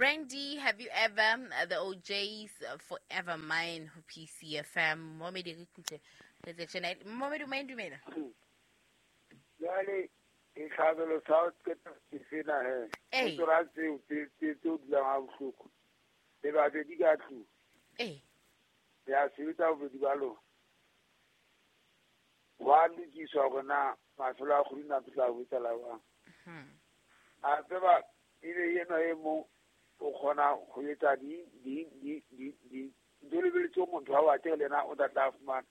Brandy, have you ever, the OJs, forever mine ho PCFM. Momedi re kutle. Re tse tjena. Momedi o main dumela. Jwale ditlhabelo sa ho qeta ke sena he. Ee. O tsora tseo tse o dulang ha bohloko. Le babedi ka tlung. Ee. Le a sebetsa bobedi ba lona. Wa lokiswa hore na mafelo a kgwedi na tla ho etsahala jwang. A tseba ebe enwa e mong o kgona ho etsa di di di di di ntho lebeletse motho ha o atle le yena o tla tla fumana.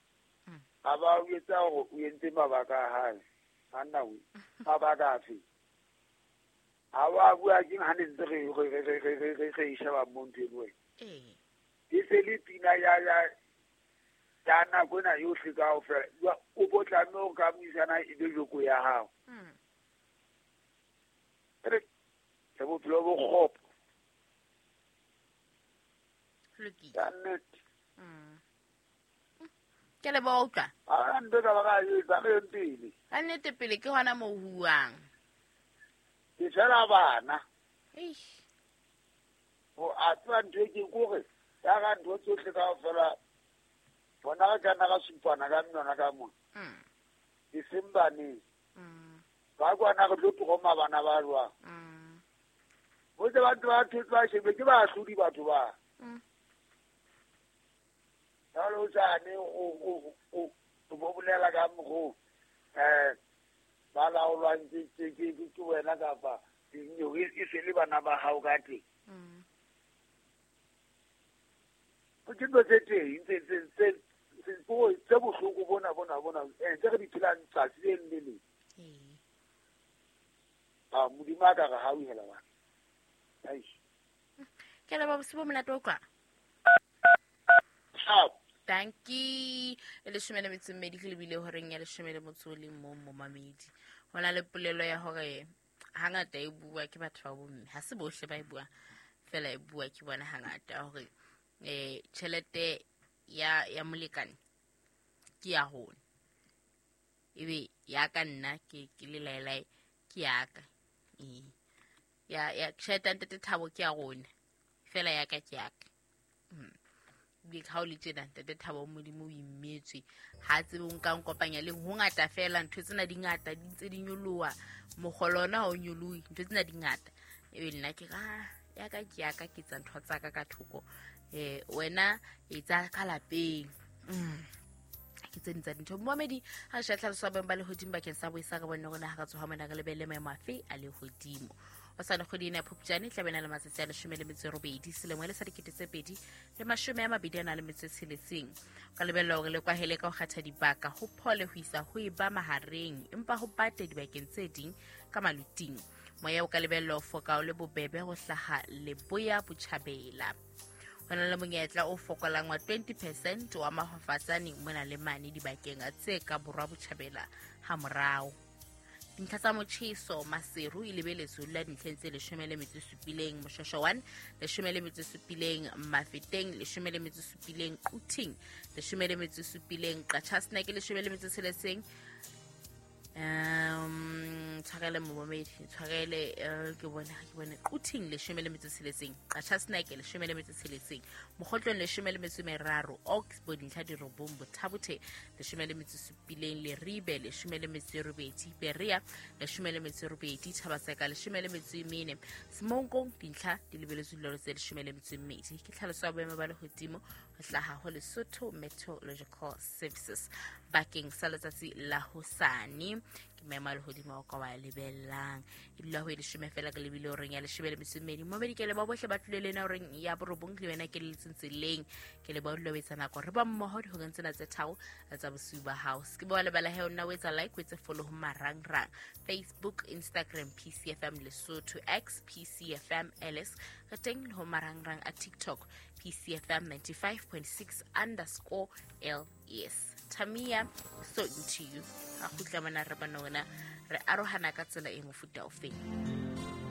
A ba o etsa hore o entse mabaka a hae. Anna we mabaka afe? Ha wa bua ke ha ne ntse re sheba mo ntho eno wena. Ee. E se le pina ya ya ya nako ena yohle kaofela. O bo tlameha hore ka buisana e be joko ya hao. Re le bophelo bo kgopo. Lokile. Ka nnete. Ke leboha utlwa. A ntho ka ba ka etsa re pele. Ka nnete pele ke hona moo ho huwang. Ke fela bana. Eish. Ho a tseba ntho e ke kore ya ka ntho tsohle kaofela bona re ka nna ra supana ka menwana ka mona. E seng baneng. Ba kwana re tlo tloma bana ba jwang. Ho tse batho ba thotse ba shebe ke baahlodi batho ba. Jwale o sane o bo bolela ka mokgo ba laolwang ke wena kapa e se le bana ba hao ka teng. Ke ntho tse teng tse bohloko bona tse re di phelang tsatsi le leng le leng. A Modimo a ka re hauhela bana. Eish. Ke leboha bosiu bo monate utlwa. Ciao. Dankie. E 12 ke lebile horeng ya 11 momamedi. Ho na le polelo ya hore hangata e bua ke batho ba bomme. Ha se bohle ba e buang, fela e bua ke bona hangata hore tjhelete ya molekane ke ya rona. Ebe ya ka nna ke le laelae ke ya ka. Ya tjhelete ya ntate Thabo ke ya rona. Fela ya ka ke ya ka. Ebile ha o le tjena ntate Thabo Modimo o imetswe. Ha tsebe o nka nkopanya le ho ngata fela ntho tsena di ngata di ntse di nyoloha. Mokgolo ona ha o nyolohe, ntho tsena di ngata. Ebe nna ke re, ya ka ke ya ka ke etsa ntho tsa ka ka thoko. Wena etsa ka lapeng. Ke tse ding tsa dintho. Momamedi, ha re sheba tlhaloso ya boemo ba lehodimo bakeng sa boisa re bone hore na ha re tsoha mona re lebelle maemo afe a lehodimo. O sa le kgwedi ena ya Phupjane e tla be na le matsatsi a 18 selemo e le sa 2026. O ka lebella hore le kwahele ka ho kgetha dibaka ho phole ho isa ho e ba mahareng, empa ho bate dibakeng tse ding ka maluting. Moya o ka lebella ho foka o le bobebe ho hlaha leboya botjhabela. Ho na le monyetla o fokolang wa 20% wa mafafatsane mona le mane dibakeng tse ka borwa botjhabela ha morao. Dintlha tsa motjheso Maseru e lebeletswe ho dula dintlheng tse 17, Moshweshwe 1, 17, Mafeteng 17, Quthing 17, Qacha's Nek 16. Tshwarele momamedi, tshwarele ke bone Quthing 16, Qacha's Nek 16, Mokgotlong 13, Oxbow dintlha di 9, Bothabothe 17, Leribe 18, Berea 18, Thabaseka 14, Semonkong dintlha di lebeletswe diloro tse 12. Ke tlhaloso ya boemo ba lehodimo ho hlaha ho Lesotho Meteorological Services bakeng sa letsatsi la hosane. Ke maemo a lehodimo ao ka wa lebellang. E dula ho e 10 fela ke lebile horeng ya 12. Momedi ke leboha bohle ba tlile le nna horeng ya 9 le wena ke le letseng tseleng. Ke leboha dula o etsa nako re ba mmoho dihoreng tsena tse 3 tsa bosiu ba hao. Se ke ba wa lebala he o nna o etsa like, o etse follow ho marangrang Facebook, Instagram, PCFM Lesotho, X, PCFM LS. Re teng le ho marangrang a TikTok, PCFM 95.6 underscore LS. Tamia, so into you. Ha kgutla mona re bona wena re arohana ka tsela e mofuta ofeng.